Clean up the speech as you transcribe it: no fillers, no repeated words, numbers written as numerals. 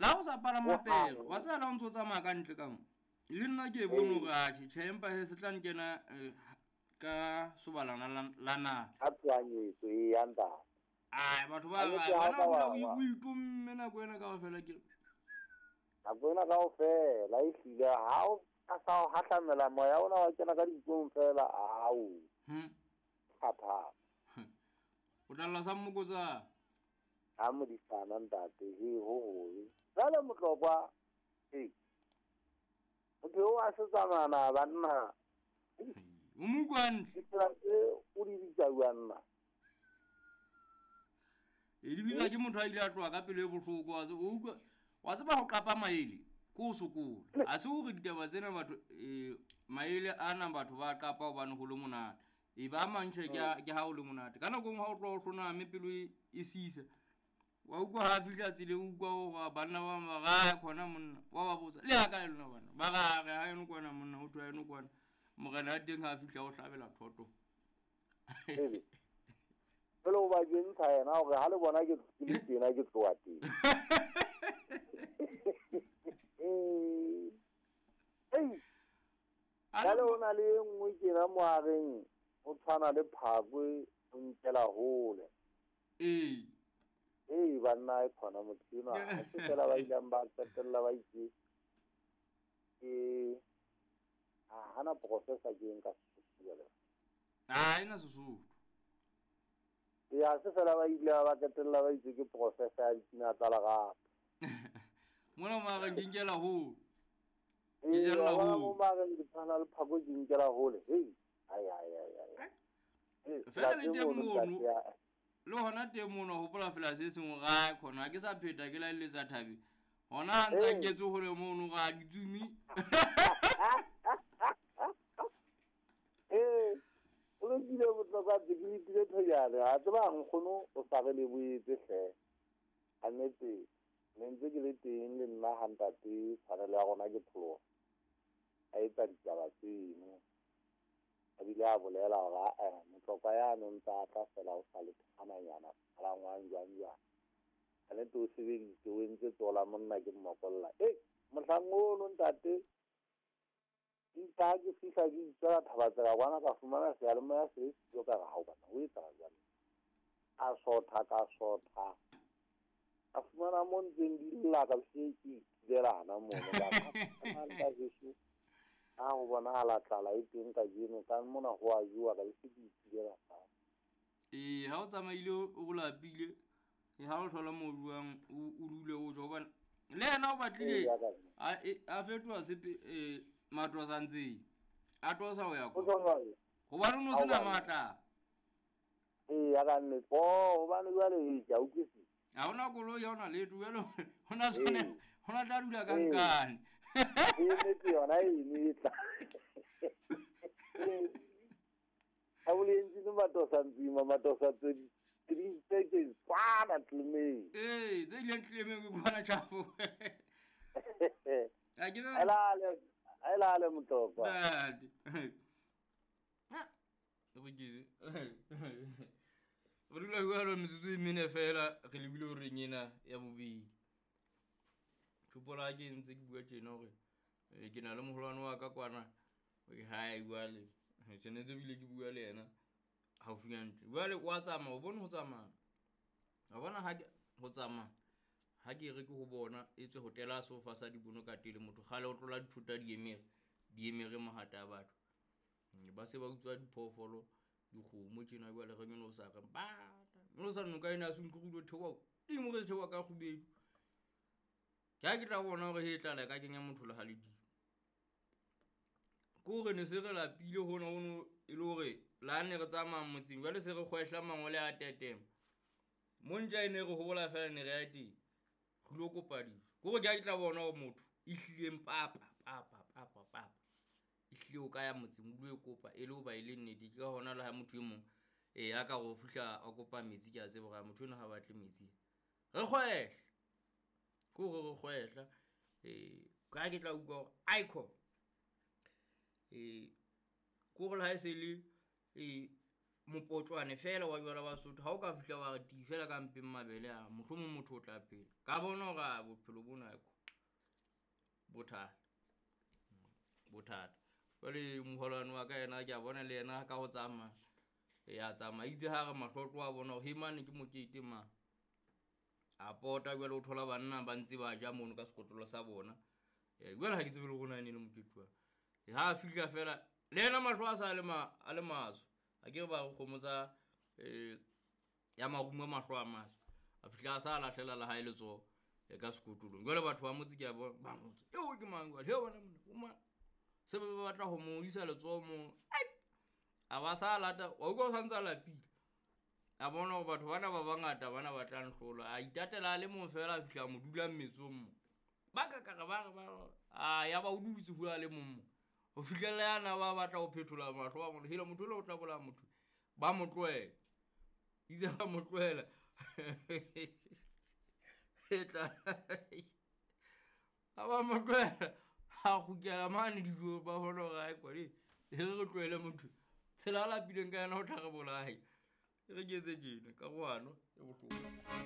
La go sa palama pere, wa tseba la o ntse o tsamaya ka ntle ka mo. Le nna ke e bone hore atjhe, tjhe empa he se tla nkena ka sobalana la nala. Ka tshohanyetso e ya ntate. Ai, batho ba Kannete re, ha wena ka o dula wa- o itomme nako ena kaofela ke. Nako ena kaofela ehlile ha o a sa o hahlamela moya ona wa kena ka dinkong fela, ao. Thata. O tla lla sa mmokotsa. Ha modisana ntate, he ho hobe. Jwale Motlokwa, ee. Motho eo a se tsamana banna. O mo utlwa hantle. Ditsela tse o di bitsa jwang nna? E di bitsa ke motho a ile a tloha ka pelo e bohloko, wa tseba, o utlwa, wa tseba ho qapa maele, ke ho sokola. Ha se hore ditaba tsena batho, maele ana batho ba qapa hobane ho le monate. E ba mang tjhe, ke ha ho le monate. Ka nako e nngwe ha o tloha o hloname pelo e sisa. Wa utlwa ha fihla tseleng, o utlwa hore banna ba bang ba re, ha khona monna, wa ba botsa, le ha kae lona bana? Ba re, ha re ha eno kwana monna, ho thwe ha eno kwana. Morena ya teng ha a fihla o hlabela thoto. Ebe. Jwale o ba kentsha yena hore ha le bona ke le tena ke tloha teng. Ei. Jwale o na le e nngwe tjena mohareng, o tshwana le phakwe, o nkela hole. Ee. Ee, banna e khona motho enwa. Ha se fela ba ileng ba qetella ba itse ke ha hana professor ke eng ka Sesotho jwale. Ha ena Sesotho. Ee, ha se fela ba ile ba qetella ba itse ke professor ya dipina tsa lerato. Mona mohareng ke nkela hole. Ee, Ke jella wa bona hole. mo mohareng ke tshwana le phako ke nkela hole. Hei, ai, ai, ai, ai. Ee, Fela le teng teng mono, mono. ntate ya. Le hona teng mono, hopola fela se sengwe ra khona, ha ke sa pheta ke laeletsa thabe. Hona ha ntse a Ee. nketse hole mono ra ditsumi. Ee, o lokile bohlokwa tse ke itile thojane. Ha tseba nkgono o sa re le boetse hle. Ha nnete, ne ntse ke le teng le nna ha ntate tshwanelo ya rona ke pholoha. A etsa ditaba tseno. A bile a bolela hore a-eh, Motlokwa ya no ntse a tla fela o sa le thananyana, palangwang jwang jwang. Ha nnete o sebeditse, o entse tsola monna ke mmokolla. Ei, mohlang ono ntate, itse ha ke fihla ke itswela Thabatsela kwana ka fumana seyalemoya se le siyo ka re, hao bana, ho etsahala jwang? A sotha, ka sotha. Ka fumana mo ntseng di lla ka se ke itulela hana mono. Ka re, ha, nka heso, ha ho bonahala tlala e teng kajeno, ka mona ho a jowa, ka be se ke itulela fatshe. Ee, ha o tsamaile o lapile, ha o thola mo juwang, o dule o ja, hobane le yena o batlile Ee, ya ka nna. a fetoha sepe, matosa ntseng. A tosa ho ya O kwa. tlo jwang? Hobane o no sena Ha o matla. Ee, ya ka nnete. Oh, hobane jwale, ee, ke a utlwisisa. Ha hona koloi, ha hona letho, jwale hona tshwane, Ee. hona tla dula ka Ee. nkane. Ee, nnete yona e ne tla. Ha o le entse matosa ntsima, matosa tse di, tse di, tse tse kwana tlemeng. Ee, tse ileng tlemeng ke kwana tjhafo. Ha ke re- Elale, elale Motlokwa. Ntate. Ha, re ke. Re dula jwalo metsotso e mene fela, re lebile horeng ena ya bobedi. Tjhopola ha ke ntse ke bua tjena hore, ke na le moholwane wa ka kwana, hae jwale. Tshwanetse ebile ke bua le yena haufinyane tje. Jwale wa tsamaya, o bone ho tsamaya. Wa bona ha ke ho tsamaya, ha ke re ke ho bona, etswe ho tela sofa sa dibono ka tele, motho kgale o tlola dithota di emere, di emere mahata a batho. Ba se ba utswa diphoofolo, dikgomo tjena jwale re nyolo sa re bata. Nyolo sa noka ena a se utlwe re theoha, dimo re theoha ka kgubedu. Ke ha ke tla bona hore he tlala ka kenya motho le ha le dimo. Ke hore ne se re lapile hona hono e le hore la ne re tsamaya motseng, jwale se re kgwehla mangole a tetema. Mo ntja e ne re hobola fela ne re ya teng. Re lo kopa dijo. Ke hore ke ha ke tla bona hore motho e hlileng papa, papa, papa, papa. E hlile o ka ya motseng o lo e kopa e le hoba e le nnete. Ke ka hona le ha motho e mong, a ka re o fihla a kopa metsi, ke a tseba hore motho enwa ha batle metsi. Re kgwehle. Ke hore re kgwehla. Ka ha ke tla utlwa hore icon. Ke hore le ha e se le, Mopotlwane fela wa jwala wa Sotho, ha o ka fihla wa re ti fela ka mpeng mabele a, mohlomong motho o tla phela. Ka bona hore a bophelo bona bothata, bothata. Jwale moholwane wa ka yena ke a bona le yena ka ho tsamaya, ya tsamaya itse ha re mahlotlo a bona hore he mane ke mokete ma. A pota jwale o thola banna ba ntse ba ja mono ka sekotlolo sa bona. Jwale ha ke tsebe le hore na e ne le mokete wa. Ha a fihla fela le yena mahlo a sa le ma a le matsho. Akere ba re kgomo tsa ya marumo mahlo a matsho. A fihla a sa lahlela la hae letsoho ka sekotlolong. Jwale batho ba motse ke a bona ba motse, eo ke mang jwale? He wena monna o mang? Se ba batla ho mo isa letsoho mo. A ba sa lata, wa utlwa o santse a lapile. A bona hore batho bana ba bangata bana ba tla nhlola. A itatela a le mong fela, a fihla a mo dula mmetsong mo. Ba ka ka re ba re ba re, a ya ba o dutse ho a le mong mo. Ho fihlella yana ba batla ho phethola mahlo a bona. Hela motho ona o tla bolaya motho. Ba mo tlohela. Itse ba mo tlohela. E tla. Ha ba mo tlohela, a kgutlela mane dijo ba bona hore ae kwane. E re re tlohele motho. Tsela a lapileng ka yona o tla re bolaya. E re ke etse tjena karohano e bohloko.